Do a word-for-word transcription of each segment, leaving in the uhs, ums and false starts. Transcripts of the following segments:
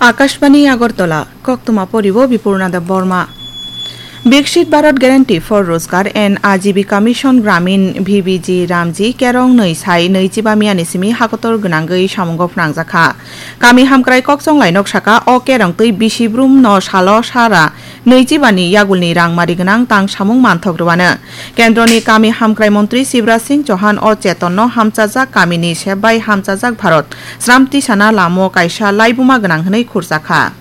Akashbani Agartala, koktwma poribo Bipurna Deb Borma. Biksit Bharat Guarantee for Rozgar and Ajibika Mission Gramin B B G Ramji kerong nwi sai nwichiba miyani simi hakotor gwnangwi samungo phnangjakha. Kami hamkrai kokchonglai nok saka o kerong twi bisi brum no salo sara nwichiba ni yagulni rangmari gwnang tang samung manthok rwano. Kendroni kami hamkrai montri Shivraj Singh Chauhan o chetonno hamchajak kamini sep bai hamchajak Bharat sramti sana lamo kaisa laibuma gwnang hwnwi khurjakha.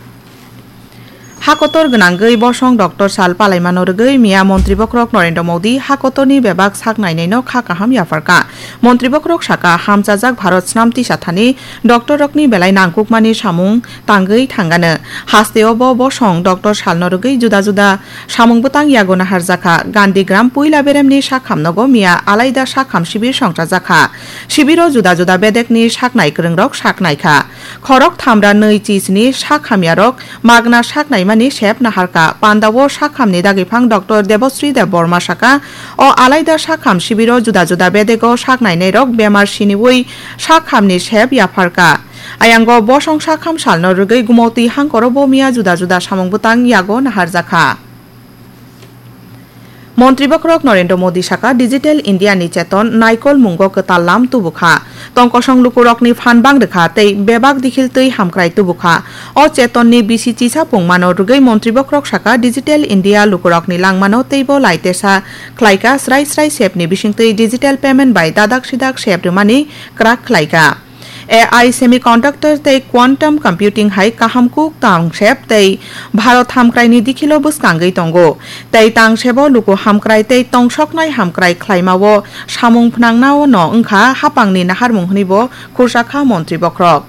Hakotor gwnangwi bosong doctor sal palaimano rwgwi miya montri bokhorok Narendra Modi hakotorni bebak sak nainaino kha kaham yapharkha. Montri bokhorok saka, hamchajak Bharat sramti sathani doctor rokni belai nangkukmani samung tangwi thangano. Hasteo bo bosong doctor salno rwgwi juda juda samung bwtang yago naharjakha. Gandhi Gram puila beremni sakham nogo miya alaida sakham sibir songchajakha. Sibiro juda juda bedekni saknai kwrwngrok saknaikha. Khorok thamra nwi chisni sak hamyarok magna sak naimani sep naharkha. Pandao sak hamni dagiphang doctor Debosri Debbarma saka, o alaida sak ham sibiro juda juda bedego sak nainairok bemar siniwi sak hamni sep yapharkha. Ayango bosong sak ham salno rwgwi gumotwi hangkoro bo miya juda juda samung bwtang yago naharjakha. Montri bokhorok Narendra Modi saka, Digital India ni cheton naikol mungo kwtal lam tubukha. Tongkosong lukurokni phan bang rwkha tei bebak dikhil twi hamkrai tubukha. O chetonni bisi chisa pungmano rwgwi montri bokhorok saka, Digital India lukurokni langmano teibo laitesa khlaikha, srai srai sepni bisingtwi digital payment bai dadak sidak sep rwmani kwrak khlaikha. A I semiconductor tei quantum computing hai kaham kuk tangsep tei Bharat hamkraini dikhilo bwskangwi tongo. Tei tangsebo luku hamkrai tei tongsoknai hamkrai khlaimao samung phnangnao no wngkha hapangni naharmung hwnwibo khursa kha montri bokhorok.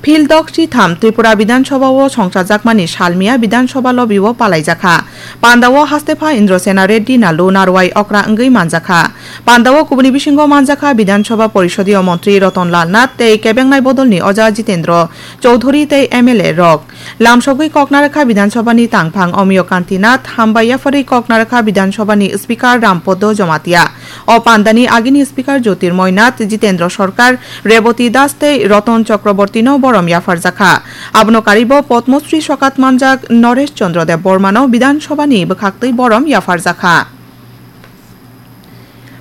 Phil dok chitham Tripura Bidhan Sabha o songchajakmani salmiya Bidhan Sabha lobby o palaijakha. Pandao hastepha Indrasena Reddy Nalu narwai okra wngwi manjakha. Pandao kubuni bisingo manjakha Bidhan Sabha Porisodiyo Montri Ratan Lal Nath tei kebengnai bodolni oja Jitendra Chowdhury tei M L A rok. Lamsogwi kok narwkha Bidhan Sabha ni tangphang Omiyo Kanti Nath, hambai yapharwi kok narwkha Bidhan Sabha ni Speaker Ram Podo Jamatia. O pandani agini Speaker Jyotirmoy Nath, Jitendra Sarkar, Reboti Das tei Ratan Chakraborty no borom yapharjakha. Abono karibo Padma Shri sokat manjak Naresh Chandra Deb Borma no Bidhan Sabha ni bwkhaktwi borom yapharjakha.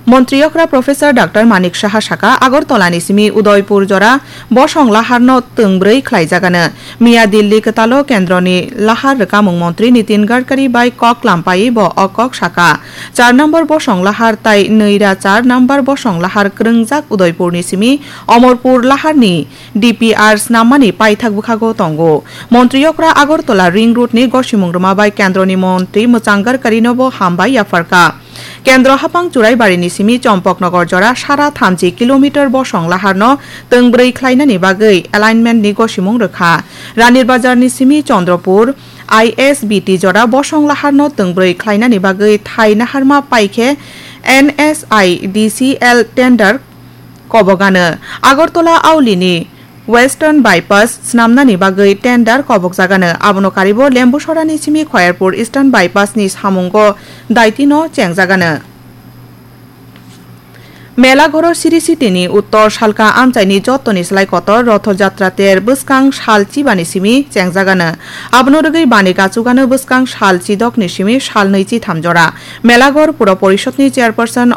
Montri okra Professor Doctor Manik Saha saka, Agartala ni simi Udaipur jora bosong lahar no twngbrwi khlaijagano. Miya Delhi kwtalo kendroni lahar rwkamung montri Nitin Gadkari bai kok lampaiwi bo o kok saka. Char number bosong lahar tai nwi ra char number bosong lahar kwrwngjak Udaipurni simi Omorpur laharni D P R snammani paithak bwkhago tongo. Montri okra Agartala Ring Road ni gosimung rwma bai kendroni montri Mwchang Gadkarino bo hambai yapharkha. Kendro hapang Churaibarini simi Champaknagar jora sara thamchi kilometer bosong laharno twngbrwi khlainani bagwi alignment ni gosimung rwkha. Ranir Bazar ni simi Chandrapur I S B T jora bosong laharno twngbrwi khlainani bagwi thai naharma paikhe N S I D C L tender kobogano. Agartala Aulini Western Bypass snamnani bagwi tender kobokjagano. Abono karibo Lembusorani simi Khoyerpur Eastern Bypass ni samungo daitino chengjagano. Melaghoro Sri City ni uttor salka amchaini jottoni slai kotor Rotho Jatra ter bwskang sal chibani simi chengjagano. Abono rwgwi bani kachugano bwskang sal chidokni simi sal nwi chitham jora. Melaghor Puro Porishod ni chairperson